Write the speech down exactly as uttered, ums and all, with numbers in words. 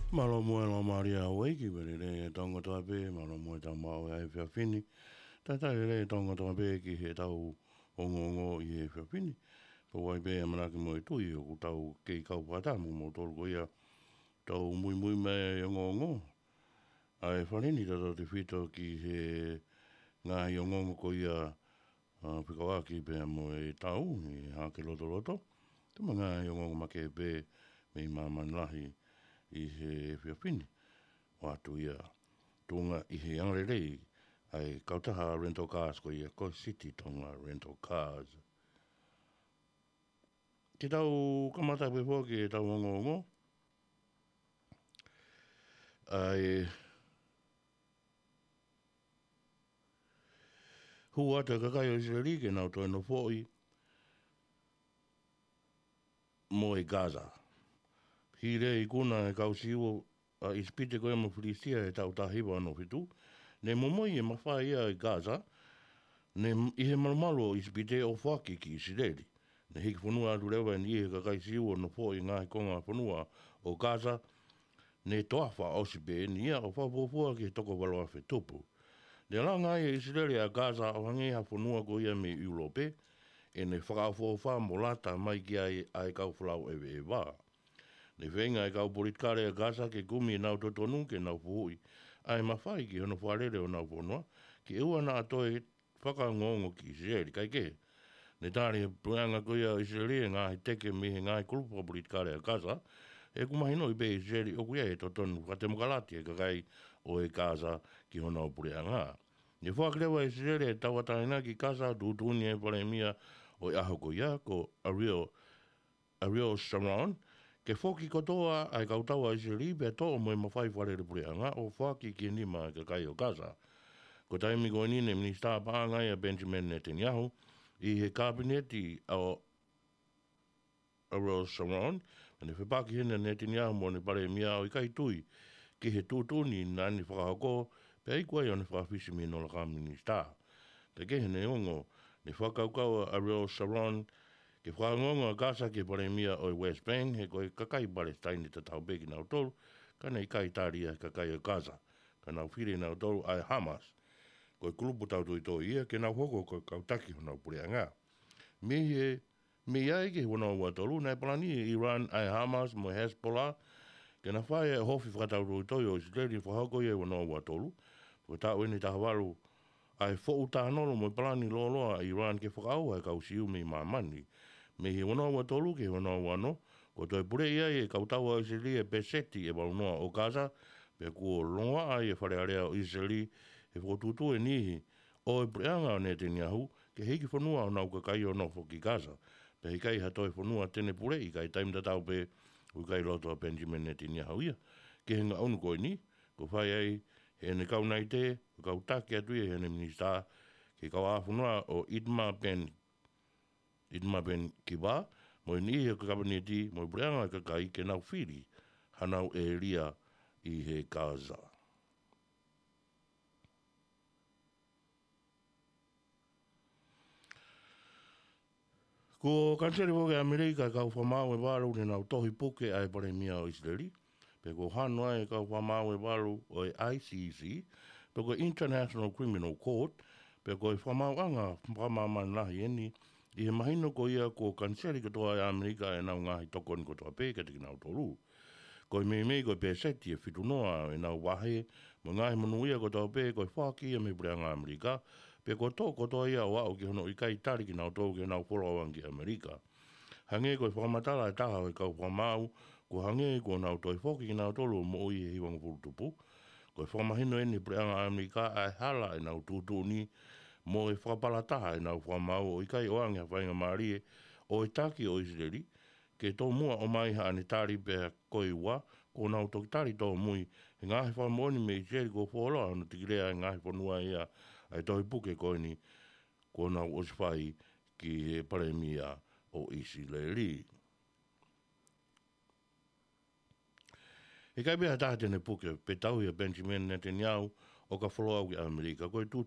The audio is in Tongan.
Mālō muʻa e Laumālie ʻa Hauaiki, pea lelei e tau ngataʻanga pē, mālō muʻa e tau maʻu ʻa e efiafi ni. Talitali lelei e tau ngataʻanga pē ki heʻetau ongoongo ʻi he efiafi ni. Pea ʻoku ʻi ai pē ʻamanaki mo e tui ʻoku tau kei kau fakataha mo kimoutolu ko ia ʻoku tau muimui mai ʻa e ongoongo ʻa e fale ni, tautautefito ki he ngaahi ongoongo ko ia ʻa, fekauʻaki pea mo e tau ʻi Hahake Lotoloto. Ko e ngaahi ongoongo makehe pē mei māmani lahi ʻi he efiafi ni. ʻOatu ia tuʻunga ʻi he angalelei ʻa e kautaha rental cars ko ia ko City Tonga Rental Cars. Ke tau kamata pē foki ʻetau ongoongo ʻa e hū atu e kakai ʻo ʻIsileli ke nau toe nofoʻi mo e Gaza. Hili e ikuna ʻa e kau Siu ʻa ʻIsipite ko ia mo Filisitia he taʻu taha hiva ono fitu, ne momoi e mafai ʻa e Gaza, ne ʻi he malumalu ʻo ʻIsipite ʻo foaki ki ʻIsileli. Ne hiki fonua atu leva ʻe niʻihi e kakai Siu ʻo nofoʻi e ngaahi konga fonua ʻo Gaza, ne toafa ʻosi pē ʻeni ia ʻo fakafuofua ki he toko valu afe tupu. Ne langa ai ʻe ʻIsileli ʻa Gaza ʻo hangē ha fonua ko ia mei ʻIulope, ʻene fakaʻofoʻofa mo lata mai ki ai ʻa e kau folau ʻeveʻeva. Ne feinga e kau politikale ʻa Gaza ke kumi ʻenau totonu ke nau fuhuʻi ʻa e mafai ki hono fakalele honau fonua, ke ʻoua naʻa toe fakaongoongo ki ʻIsileli, kae kehe, ne tali ʻe he puleʻanga ko ia ʻo ʻIsileli e ngaahi teke mei he ngaahi kulupu fakapolitikale ʻa Gaza, he ʻoku mahinoʻi pē ʻe ʻIsileli ʻoku ʻi ai e totonu fakatemokalati e kakai ʻo e Gaza ki honau puleʻanga. Ne foaki leva ʻe ʻIsileli e tauʻatāina ki Gaza, tuʻutuʻuni e palēmia ʻo e ʻaho ko ia, ko Ariel Ariel Sharon, ke foki kotoa ʻa e kau tau ʻa ʻIsileli pea toʻo mo e mafai fakalele puleʻanga ʻo foaki ki he nima ʻa e kakai ʻo Gaza. Ko e taimi ko eni ne minisitā paʻanga ia ʻa Benjamin Netanyahu ʻi he kapineti ʻo Ariel Sharon, ne fepaki heni ʻa Netanyahu mo ʻene palēmia ʻo ʻikai tui ki he tuʻutuʻuni naʻa ne fakahoko, pea iku ai ʻo ne fakafisi mei hono laka minisitā. Kae kehe, neongo ne fakakaukau ʻa Ariel Sharon ke fakaongoongo ʻa Gaza ki he palēmia ʻo e West Bank, he ko e kakai Palesitaine tatau pē kinautolu, ka ne ʻikai tali ia ʻe he kakai ʻo Gaza, ka nau fili ʻe nautolu ʻa e Hamas, ko e kulupu tautoitoi ia, ke nau hoko ko e kau taki honau puleʻanga. Mei he, mei ai ki he ua noa ua tolu, naʻe palani ʻe Iran ʻa e Hamas mo e Hezbollah ke na fai e ohofi fakatautoitoi ʻo ʻIsileli, fakahoko ia ʻi he ua noa ua tolu. Fakataʻu ʻeni ʻe taha valu ʻa e foʻu tānolo mo e palani lōloa ʻa Iran ke fakaʻauha e kau Siu mei māmani. Mei he ua noa ua tolu ki he ua noa ua ono, kuo toe puleʻi ai ʻe he kau tau ʻa ʻIsileli e peseti ʻe valu noa ʻo Gaza, pea kuo longoaʻa ai e Fale Alea ʻo ʻIsileli he fokotuʻutuʻu ʻe niʻihi ʻo e puleʻanga ʻo Netanyahu ke hiki fonua honau kakai ʻo nofo ki Gaza, pea ʻikai ha toe fonua te ne puleʻi, kae taimi tatau pē ʻoku ʻikai loto ʻa Benjamin Netanyahu ia ki he ngaʻunu ko eni, kuo fai ai ʻe heʻene kau naʻe, ko e kau taki atu ia ʻe heʻene minisitā ki he kauʻāfonua ʻo Itamar Ben, Itamar Ben Gvir, mo e niʻihi ʻo e kapineti mo e puleʻanga ʻo e kakai ke nau fili hanau ʻēlia ʻi he Gaza. Kuo kaniseli foki ʻe ʻAmelika e kau fakamaau ʻe valu ne nau tohi puke ʻa e palēmia ʻo ʻIsileli, pea kuo hano ai e kau fakamaau ʻe valu ʻo e I C C, pe ko e International Criminal Court, pea ko e fakamaauʻanga fakamāmani lahi ʻeni, ʻi he mahino ko ia kuo kaniseli kotoa ʻe ʻAmelika ʻenau ngaahi tokoni kotoa pē kiate kinautolu. Ko e meimei ko e peseti ʻe fitu noa ʻenau vahe mo e ngaahi monūʻia kotoa pē ko e foaki ia mei he puleʻanga ʻAmelika, pea kuo toʻo kotoa ia ʻo aʻu ki hono ʻikai tali kinautolu ke nau follow ange ki ʻAmelika. Hangē ko e fakamatala ʻe taha ʻo e kau fakamaau, kuo hangē kuo nau toe foki kinautolu ʻo moʻui he hivangofulu tupu. Ko e fakamahino ʻeni ʻe he puleʻanga ʻAmelika ʻa e hala ʻenau tuʻutuʻuni mo e fakapalataha ʻenau fakamaau ʻo ʻikai ʻoange ha faingamālie ʻo e taki ʻo ʻIsileli ke tomuʻa ʻomai haʻane tali, pea ko e ua, kuo nau toki tali tōmui he ngaahi fakamoʻoni mei ʻIsileli kuo fuoloa hono tikilea e ngaahi fonua ia ʻa e tohi puke ko eni kuo nau ʻosi fai ki he palēmia ʻo ʻIsileli. ʻIkai pē ha taha te ne puke pe tauhi ʻa Benjamin Netanyahu ʻo ka follow ki ʻAmelika. Ko e tuʻutuʻuni